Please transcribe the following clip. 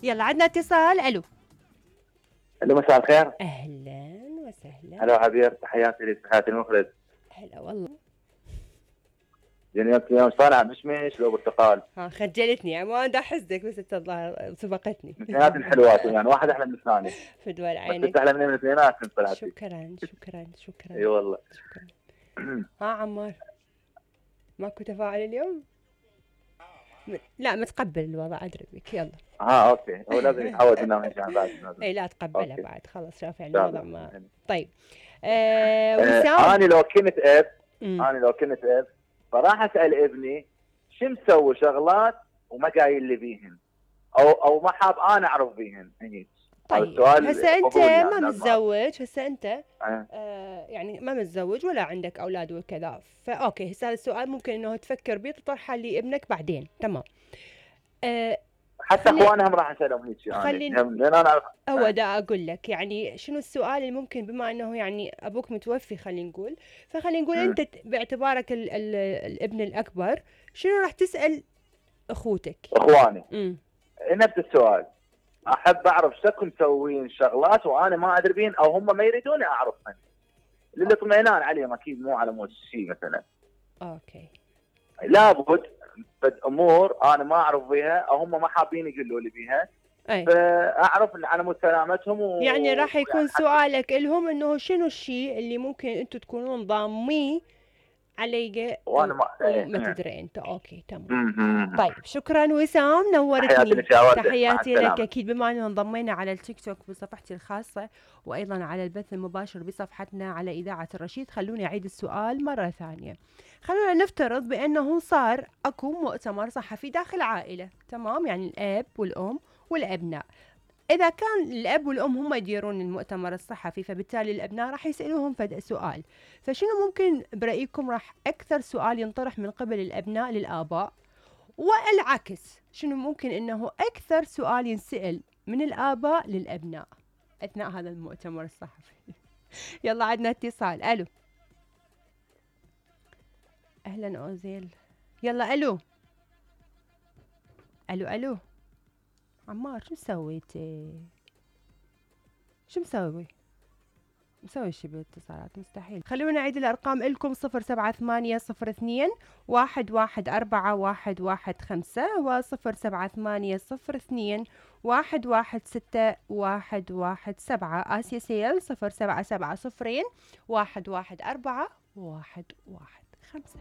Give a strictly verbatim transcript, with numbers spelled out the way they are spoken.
يلا عندنا اتصال. الو الو مساء الخير. اهلا وسهلا. هلا عبير، تحياتي لك، تحياتي المخرج. هلا والله. جنيت يوم صانع مشمش لو برتقال. ها خجلتني يعني، ما بدي احسدك بس انت الظاهر سبقتني. اثنينات الحلوات يعني، واحد احلى من الثاني. فدوى بس عينك. انت احلى من الاثنينات طلعتي. شكرا شكرا شكرا. اي والله. شكرا. ها عمار، ماكو تفاعل اليوم؟ م... لا متقبل الوضع، ادري بك. يلا اه اوكي، هو لازم يتعود انه ماشي عن بعد. اي لا تقبلها أوكي. بعد، خلاص شاف يعني إن شاء الوضع الله. ما. طيب آه آه وسام. انا لو كنت اب مم. انا لو كنت اب فراح اسال ابني شو مسوي شغلات وما قايل لي بيهن، او او ما حاب انا اعرف بيهن هيك. طيب هسه انت يعني ما متزوج، هسه انت أه. آه يعني ما متزوج ولا عندك اولاد وكذا، فاوكي هسه هذا السؤال ممكن انه تفكر بيه تطرحه لابنك بعدين. تمام. آه حتى اخوانهم راح اسالهم هيك يعني خلين لان انا أعرف. هو دا اقول لك يعني شنو السؤال اللي ممكن، بما انه يعني ابوك متوفي خلينا نقول، فخلينا نقول م. انت باعتبارك ال ال الابن الاكبر شنو راح تسال اخوتك؟ اخواني امم نفس السؤال، احب اعرف شكو مسوين شغلات وانا ما ادري بين او هم ما يريدوني اعرفهن للاطمئنان عليهم، اكيد مو على مود شيء مثلا. اوكي. لابد بد امور انا ما اعرف بيها او هم ما حابين يقولوا لي بيها، أي. فاعرف على مود سلامتهم و... يعني راح يكون يعني سؤالك لهم انه شنو الشيء اللي ممكن انتم تكونون ضامين علي وانا ما وما تدري انت. اوكي تمام. طيب شكرا وسام، نورتني. تحياتي لك يا ورده. تحياتي لك. اكيد بما انه انضمينا على التيك توك بصفحتي الخاصه وايضا على البث المباشر بصفحتنا على اذاعه الرشيد، خلوني اعيد السؤال مره ثانيه. خلونا نفترض بانه صار اكو مؤتمر صحفي داخل عائله، تمام، يعني الاب والام والابناء. إذا كان الأب والأم هم يديرون المؤتمر الصحفي، فبالتالي الأبناء راح يسألوهم فد سؤال، فشنو ممكن برأيكم راح أكثر سؤال ينطرح من قبل الأبناء للآباء، والعكس شنو ممكن إنه أكثر سؤال ينسأل من الآباء للأبناء أثناء هذا المؤتمر الصحفي؟ يلا عندنا اتصال. ألو أهلا أوزيل. يلا ألو ألو ألو عمار، شو سويتي؟ شو مسوي؟ مسوي شي بالاتصالات؟ مستحيل. خلونا نعيد الأرقام إلكم: صفر سبعة ثمانية صفر اثنين واحد واحد أربعة واحد واحد خمسة وصفر سبعة ثمانية صفر اثنين واحد واحد ستة واحد واحد سبعة. آسيا سيل صفر سبعة سبعة صفرين واحد واحد أربعة واحد واحد خمسة.